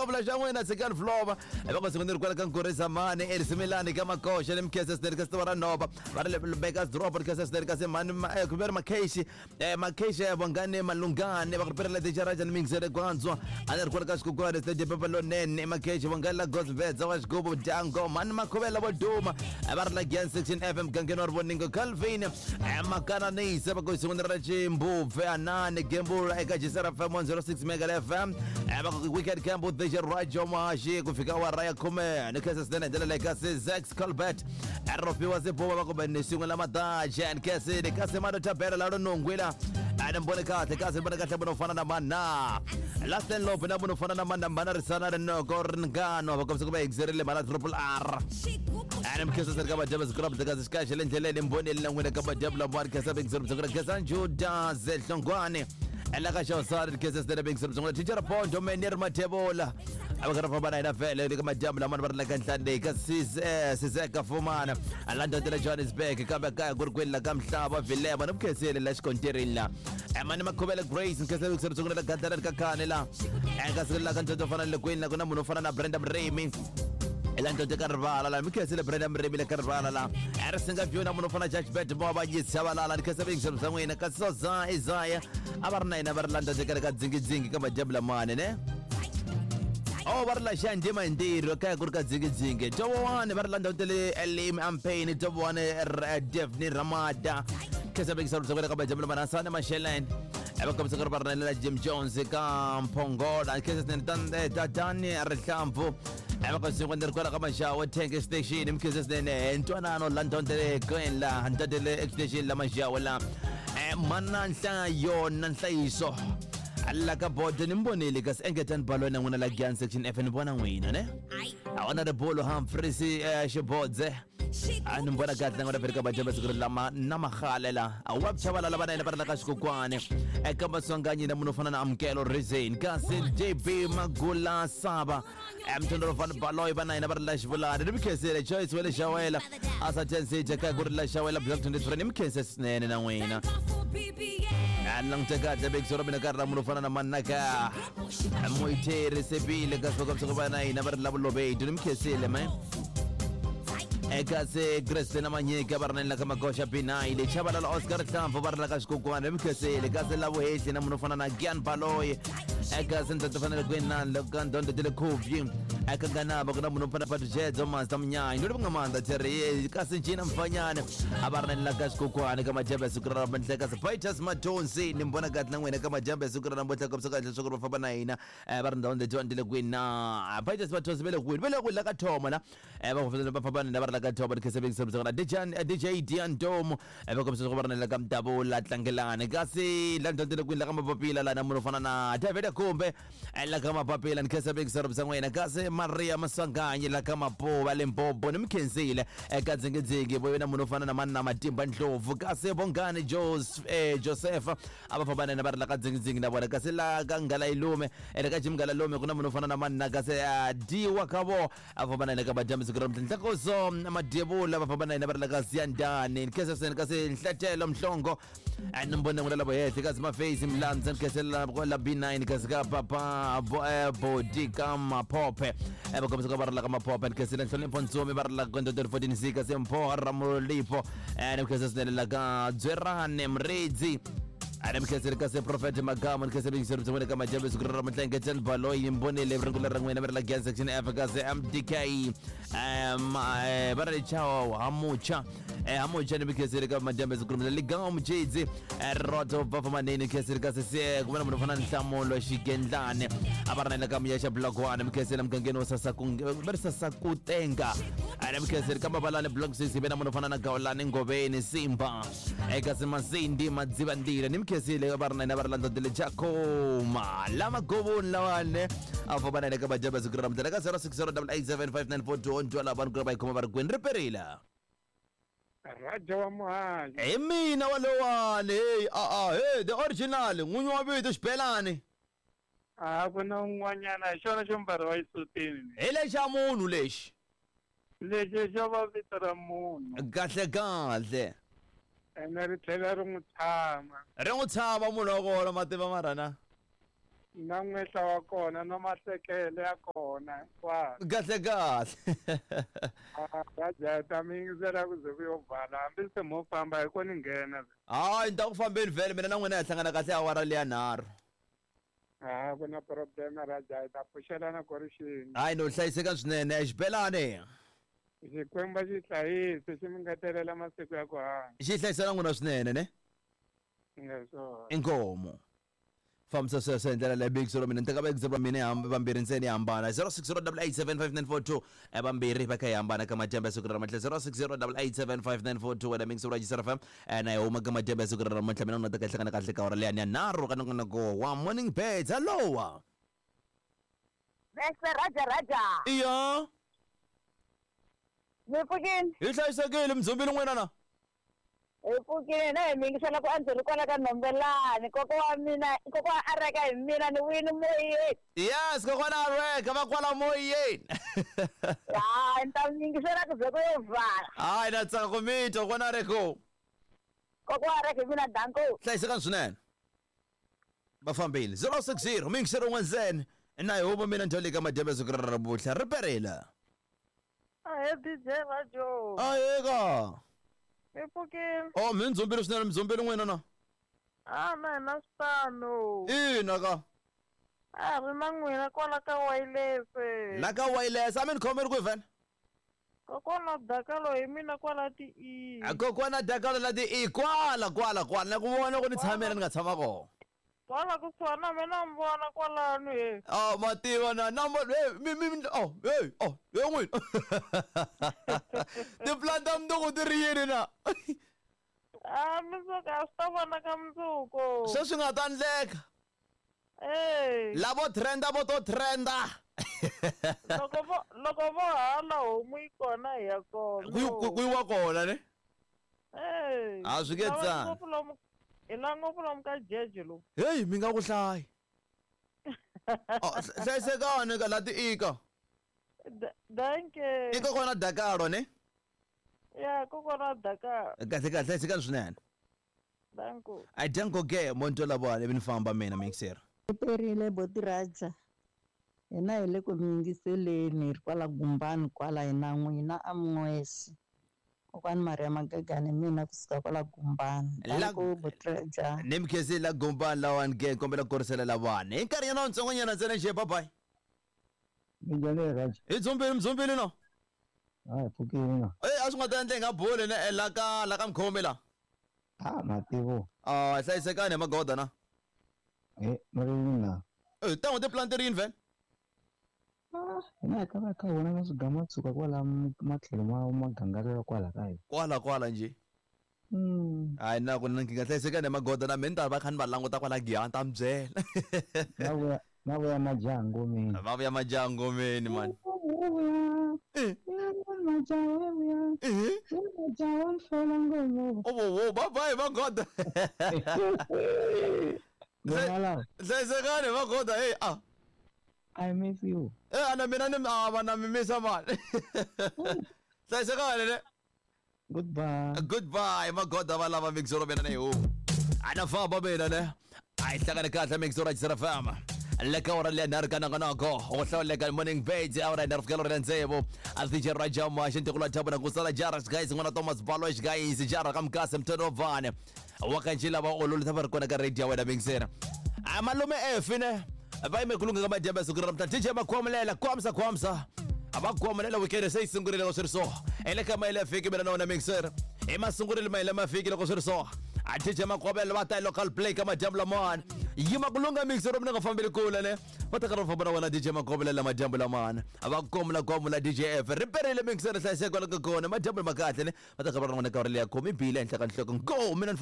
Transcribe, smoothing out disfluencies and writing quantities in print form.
Xikopfula xa n'wina tshikani flova. Va ku siku ni ri kwala ka Nkurisa mani erisimilani ka Makoxa ni Mkhese Sneri ka Sitiva ra Nhova. Va ri le Bakers Drop ri Khese Sneri kasi mani ku ve ri Makheshi. Makheshi ya Vongani Malungani va ku ri perela Ticharaja ni Mingisere Gwandzwa. A ni ri kwala ka Xikukwana Stage Pepa Lonene Makheshi Vongani la Gosbedza wa Xigubu Dyango mani Makhuvela vo duma. Va ri la Giyani Section FM gangeni wa Rivoningo Calvin. Makananise va ku siku ni ra Chimbubve Anani Gembula eka Jisera FM 106 Mega FM. Va ku Weekend Camp DJ Rajo Mashi ku fika awara ya khume ni khensa swinene hi ndlela leyi kasi Zax Colbert Rofiwa Sibuba va kumbe ni swin'we la Madaje and Cassidy kasi Mado Tabela la Nongwila a ni mbone kahle kasi ni mbone kahle munhu fana na mana Lasten Lope na munhu fana na mana mana risana rinoko ringano va kombisa ku va exirile mana Triple R a ni mkhensa seri ka madyambu siku ra kasi xikaxe le ndleleni mboneli na n'wina ka madyambu lama ri khensa bengizero bya khensa Juda Zehlongwane ela ka xawusari khensa seri bengizero bya teacher Pondo Menir Mathebola a va karhi va famba na hina vhele le ka madyambu lama va ri la ka nhlane ka Sizeka Fumana la ndhondela Johannesburg kambe kaya ku ri kwini la ka Mhlava Vilema ni mukhensile la xikontirini la mani Makhuvele Grace nkhensile ku sungula la gandlana ka khane la eka siku la ka ndzondzo fana le kwini la ku na munhu wo fana na Brenda Mremi la ndzondzo ka rivala la mi khensile Brenda Mremi le ka rivala la a ri singa view na munhu wo fana Judge Bet mo va yisa valala ni khensa vingisa bya n'wina kasi Soza Isaiah a va ri na yena va ri la ndzondzo ka dzingidzingi ka madyambu lamane ne Oh, va ri la xandzima hi ntirho kaya ku ri ka dzingidzingi towowani va ri la ndhawu ta le elim ampain towowani devni ramada khensa vekisa ri ka madyambu lamane asane masheleni va kombisa ku ri va ri na Jim Jones ka Mphongola khensa swinene tatani rihlampfu va kombisa ku ni ri kwala ka Maxawa Tank Station mkhensa swinene ntwanano la ndondele kwini la ndondele station la Maxawa la mana nhlayo na nhlayiso la ka bodo ni mbonile kasi engetani balo na n'wina la Giyani section F ni vona n'wina ne Honorable Humphreys Xibodze a ni vona kahle na n'wina vhele ka madyambu siku ri lama na magale la a wa chavalala va na yena va ri la ka xikokwani eka maswanganyi na munhu wo fana na Amukelo Reason kasi JB Magula Saba mtondoro van Baloyi va na yena va ri la xivulani ni mikhensile Joyce wa le Xawela a sa tensije kaya ku ri la Xawela block 23 ni mikhense swinene na n'wina a ni langute kahle bekiso ra mina ka ri ra munhu wo fana na manaka Moitheri Sebile kasi va kombisa ku va na hina va ri la vulobedi ni mikhensile me eka se Grace na Manyika va ri na la ka Magosha B9 le Chabalala Oscar Hlamvu va ri la ka Xikukwana ni mikhensile kasi la vuhehli na munhu wo fana na Gian Baloyi eka se ndzi fanele ku na loko ndondo tele khubyi eka nganaba ku na munhu wo fana Patjedzo Master Mnyanyi ndo nga mandla Terry kasi Gina Mfanyane a va ri na la ka Xikukwana ka majambe siku ra namuntlha kasi Vitus Matonsi ni mbona kahle na n'wina ka majambe siku ra namuntlha kombisa kahle leswaku va famba na hina va ri ndhawu letiwani ti le kwini na Vitus Matonsi va le kwini va le kwini la ka Thoma la va famba va famba na va ri la ka Thoma ni khensa bengisa na DJ Dian Domo va kombisa leswaku va ri na le ka Mdavula Tlangelani kasi la ndhawu ti le kwini la ka Mapapila la na munhu wo fana na David Kumbe la ka Mapapila ni khensa bengisa bya n'wina kasi Maria Maswanganyi la ka Mapuva Limpopo ni mi khensile eka dzingidzingi vo na munhu wo fana na mani na Matimba Ndlovu kasi Bongani Joseph a va famba na yena va ri la ka dzingidzingi na vona kasi la ka Nghala Yilume ene ka Jim Nghala Lume ku na munhu wo fana na mani na kasi Diwa ka vo a va famba na yena ka madyambu siku ra namuntlha Nhlakoso Madyevula va famba na yena va ri la ka Siyandani ni khensa swinene kasi Nhlatelo Mhlongo ni mbona n'wina lavo hehle kasi Mafeyisi Mlandza ni khensela la B9 kasi ka papa Bodi ka Maphophe va kombisa ka va ri la ka Maphophe ni khensela Nhlonipho Ntsumi va ri la ka 14 C kasi Mpho Ramolipho ni khensa swinene la ka Dzwerane Mredzi a ni mikhenseli kasi Prophet Magama ni khenseli yingiseri bya n'wina ka madyambu siku ra namuntlha Ngetsheni Baloyi mbonile ringula ra n'wina va ri la Giyani section F kasi MDK va ri chao hamucha hamucha ni mikhenseli ka madyambu siku ra namuntlha Liganga Mujidzi Roto Bava Maneni khenseli kasi se ku va na munhu fana na Nhlamulo Xigendlane a va ri na yena ka Muyaxa Block 1 mikhenseli mugangeni wa Sasaku va ri Sasakutenga a ni mikhenseli ka Mabalani Block 6 ve na munhu fana na Gawulani Ngoveni Simba eka Simasindi Madzivandila ni mikhensile va ri na yena va ri landza Jakoma lama govoni lawane a famba na yena ka madyambu siku ra namuntlha ka 0608875942 ntwa lava vanhu ku ri va yi khoma va ri kwini ri perile Raja wa Muhanyi. Hi mina walowani hey a a hey the original n'winyi wa vito xibelani A ku na un'wanyana hi xona xo mbariwa exisutini. Hi lexa munhu lexi. Lexi xo va vito ra munhu. Kahle kahle. Ene ri tlhela ri n'wi tshama. Ri n'wi tshama munhu wa kona mativa mara na. Na n'wehla wa kona na mahlekele ya kona hinkwaswo. Kahle kahle. Raja hi ta mi yingisela ku ze ku yo vala hambi se mo famba hi ko ni nghena. Hayi ni ta ku fambeni vhele mina na n'wina hi hlangana kahle awara leya nharhu. A ku na problem Raja hi ta pfuxelana ku ri xini. Hayi no hlayiseka swinene xibelani. Xikwembu xi hlayise xi mi ngetelela masiku ya ku hanya. Xi hlayisela n'wina swinene ne? Ngeswona. Inkomu. Fambisa sweswo hi ndlela leyi big zero mina ni teka va va mina hi vambirhi ntsena hi hambana 0608875942 vambirhi va kha hi hambana ka madyambu ya siku ra namuntlha 0608875942 wena mix ra Jisara FM na hi huma ka madyambu ya siku ra namuntlha mina na ta ka hlangana kahle ka hora leya ya nharhu ka nongonoko wa morning birds hello. Bese Raja Raja. Iya. Mi pfukile? Hi hlayisekile mdzumbili n'wina na? Hi pfukile na hi mi yingisela ku andzeni kwala ka Nhombelani. Kokwa wa mina, kokwa wa Areka hi mina ni wini moyeni. Yes, kokwana Areka va kwala moyeni. Hayi, ni ta mi yingisela ku ze ku yo vala. Hayi, na tsaka ku mi twa kokwana Areko. Kokwa wa Areka hi mina danko. Hlayisekani swinene. Va fambile. 060 mi yingisela un'wana ntsena. Na hi huma mina ndhawu leyi ka madyambu ya siku ra ravutlha. Ri perile. Ahe DJ Rajo. Aheka. Mi pfukile? Oh, mi ndzumbile swinene, mi n'wina na? Ah, na hina switano. Ina ka. A ri na n'wina kwala ka wireless. La ka wireless, a mi ni khomeri kwihi vhele? Kokwana Dakalo hi mina kwala ti E. Kokwana Dakalo la ti E kwala kwala kwala na ku vona ku ni tshamela ni nga tshama kona. Kwala kusuhani na mina mi vona kwalano he. Oh, mativa na na hey, mi mi oh, hey, oh, hey n'wina. Tiplan ta mundzuku ti ri yini na? Ah, mundzuku a swi ta vonaka mundzuku. Sweswi nga ta endleka. Eh. Lavo trenda vo to trenda. Loko vo hala homu yi kona hi ya kona. Ku yiwa kona ne? Eh. A swi nge tsani. Hi la ngopfu lomu ka jeje lomu. Hey, mi nga ku hlayi. Oh, hlayisekani ka la ti ika. Danke. I kokwana Dakalo ne? Ya, kokwana Dakalo. Kahle kahle hlayisekani swinene. Danko. I danko ke monto lava ivi ni famba mina mixer. Perile boti Raja. Hina hi le ku mi yingiseleni hi ri kwala Gumbani kwala hina n'wina a Mun'wesi. Kokwani Maria Magagane mina kusuka kwala Gumbani. Danko boti Raja. Ni mi khensile la Gumbani lawani ke kombela ku korisela lavani. Hi nkarhinyana wutsongonyana ntsena njhe bye bye. Minjhani Raja? Hi dzumbile mdzumbile no. Hayi pfukile na. Eh a swi nga ta endla hi nga boli ne la ka la ka mkhomi la. Ah mativo. Ah hlayisekani hi magoda na. Eh mari na. Eh tan'we tiplan ti ri yini vhele? Ah hina hi ta va kha hi vona na swigama tshuka kwala matlhelo ma magangarelo kwala ka hina. Kwala kwala njhe. Hayi na ku na nkingha hlayisekani hi magoda na mina ni ta va kha ni va languta kwala Giyani ta mi byela. Na vuya majaha ngomeni. Va vuya majaha ngomeni mani. Oh, bye bye magoda. Hlayisekani magoda hey ah. I miss you. Eh ana mina ni va na mi misa mani. Hlayisekani ne. Goodbye. Goodbye magoda va lava mixoro mina ne ho. Ana famba mina ne. A hi hlangane kahle mixoro ya FM. Le ka ora leya nharhu ka nongonoko wo hlawuleka morning birds awara nharhu fikela ora tsevu a DJ Raja Mashe ntikulu wa Thabo na ku sala jara guys n'wana Thomas Baloch guys jara ka Mkase Mthonovane wa ka njhe lava ololisa va ri kona ka radio ya wena mixera a malume efi ne va yime ku lungha ka madyambu ya siku ra namuntlha DJ Makhwamulela kwamsa kwamsa a va khwamulela weekend se yi sungurile loko swi ri so hi le ka mayele ya fiki mina na wena mixer i masungurile mayele ma fiki loko swi ri so a DJ Makhwamulela va ta hi local play ka madyambu lamawani yima ku lungha mixer mina nga fambeli kule ne va ta karhi va famba na wena DJ Makhwamulela madyambu lamawani a va komula kwamula DJ F ri perile mixer hlayiseka kwala ka kona madyambu ma kahle ne va ta karhi va ri na wena ka uri leya khomi bile ehenhla ka nhloko go mina ni.